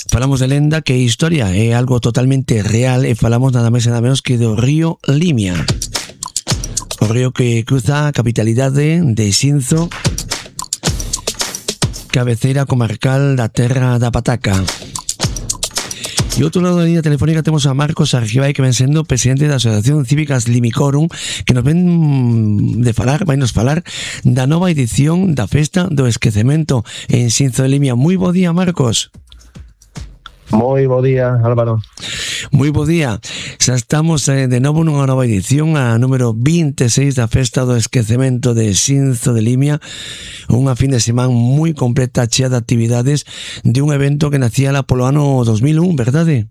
Falamos de lenda, que historia é algo totalmente real, e falamos nada máis e nada menos que do río Limia. O río que cruza a capitalidade de Xinzo, cabeceira comarcal da terra da Pataca. E outro lado da línea telefónica temos a Marcos Argibay, que ven sendo presidente da Asociación Cívicas Limicorum, que nos ven de falar, vai nos falar da nova edición da Festa do Esquecemento en Xinzo de Limia. Moi bo día, Marcos. Moi bo día, Álvaro. Moi bo día. Xa estamos de novo nunha nova edición, a número 26 da Festa do Esquecemento de Xinzo de Limia, unha fin de semana moi completa, chea de actividades, de un evento que nacía lá polo ano 2001, verdade?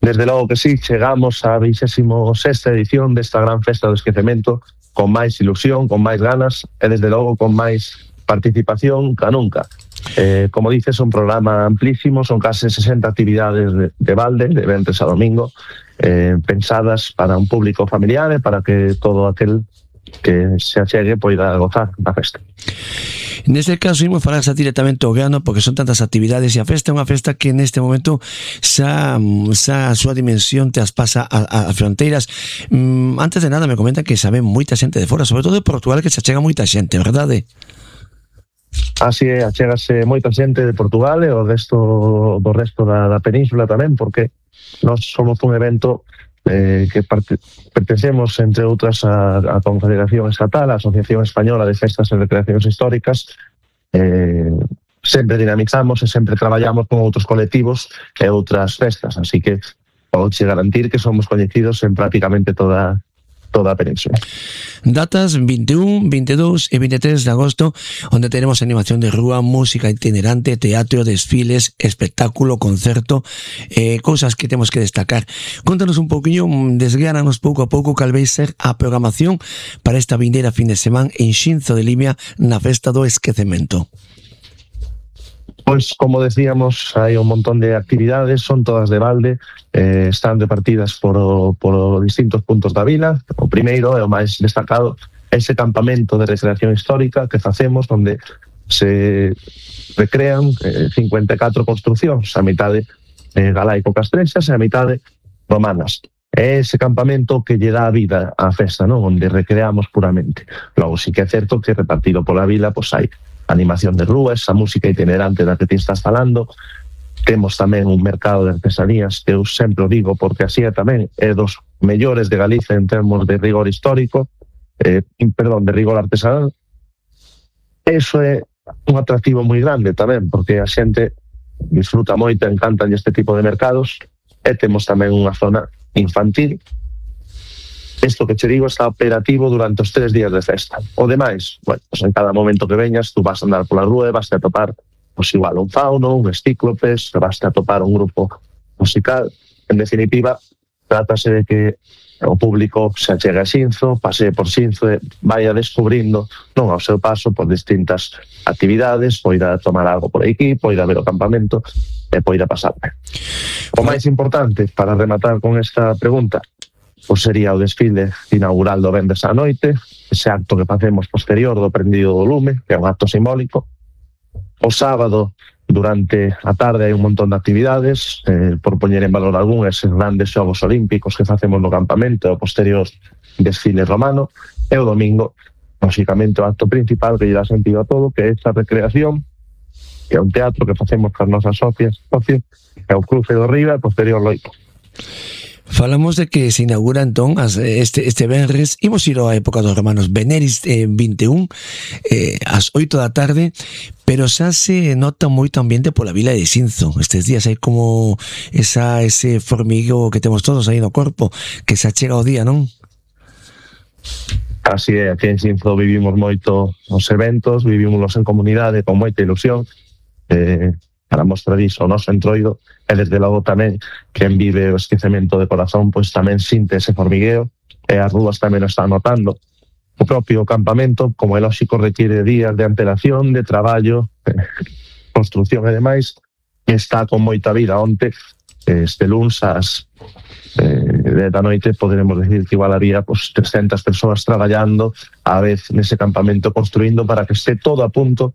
Desde logo que sí, chegamos á 26ª edición desta gran Festa do Esquecemento, con máis ilusión, con máis ganas e desde logo con máis participación ca nunca. Como dices, un programa amplísimo, son case 60 actividades de balde, de ventres a domingo, pensadas para un público familiar e para que todo aquel que se achegue poida gozar da festa. Neste caso, imos falar xa directamente ao grano, porque son tantas actividades, e a festa é unha festa que neste momento xa a súa dimensión traspasa as fronteiras. Antes de nada, me comentan que sabe moita xente de fora, sobre todo de Portugal, que se achega moita xente, verdade? Así é, achégase moita xente de Portugal e do resto da península tamén, porque nós somos un evento que pertencemos, entre outras, a Confederación Estatal, a Asociación Española de Festas e Recreacións Históricas. Sempre dinamizamos e sempre traballamos con outros colectivos e outras festas, así que podo garantir que somos coñecidos en prácticamente toda a península. Datas 21, 22 e 23 de agosto, onde teremos animación de rúa, música itinerante, teatro, desfiles, espectáculo, concerto, cousas que temos que destacar. Contanos un pouquiño, desgránanos pouco a pouco cal vai ser a programación para esta vindeira fin de semana en Xinzo de Limia na Festa do Esquecemento. Pois, como decíamos, hai un montón de actividades, son todas de balde, están repartidas por distintos puntos da vila. O primeiro é o máis destacado, ese campamento de recreación histórica que facemos, onde se recrean 54 construcións, a mitade galaico-castrexas e a mitade romanas. É ese campamento que lle dá a vida á festa, non? Onde recreamos puramente. Logo, sí que é certo que repartido pola vila, pois hai animación de rúa, esa música itinerante da que ti estás falando. Temos tamén un mercado de artesanías que eu sempre o digo, porque así é tamén, é dos mellores de Galicia en termos de rigor histórico, de rigor artesanal. Eso é un atractivo moi grande tamén, porque a xente disfruta moito, encantan este tipo de mercados, e temos tamén unha zona infantil. Isto que che digo está operativo durante os 3 días de festa. O demais, bueno, pues en cada momento que veñas, tú vas a andar pola rúa e vas a topar, pues igual, un fauno, un estíclopes, vas a topar un grupo musical. En definitiva, trátase de que o público se achegue a Xinzo, pasee por Xinzo e vaya descubrindo, non ao seu paso, por distintas actividades, poida tomar algo por aquí, poida ver o campamento e poida pasar. O máis importante, para rematar con esta pregunta, pois sería o desfile inaugural do venres á noite, ese acto que facemos posterior do prendido do lume, que é un acto simbólico. O sábado, durante a tarde, hai un montón de actividades, por poñer en valor algún, eses grandes xogos olímpicos que facemos no campamento, o posterior desfile romano, e o domingo, lógicamente, o acto principal que lle dá sentido a todo, que é esta recreación, que é un teatro que facemos con as nosas socias, é o Cruce do Riba e posterior loito. Falamos de que se inaugura entón este venres, imos ir á época dos romanos, Veneris 21, ás 8 da tarde, pero xa se nota moito ambiente pola vila de Xinzo. Estes días hai como ese formigueo que temos todos aí no corpo, que se achega o día, non? Así é, aquí en Xinzo vivimos moito os eventos, vivimos en comunidade con moita ilusión, para mostrar iso o noso entroido, e desde logo tamén quen vive o esquecemento de corazón, pois tamén sinte ese formigueo, e as rúas tamén o están notando. O propio campamento, como é lógico, requiere días de antelación, de traballo, construcción e demais, e está con moita vida. Onte, este luns, ás 10 da noite, poderemos decir que igual había 300 persoas traballando á vez nese campamento, construindo para que este todo a punto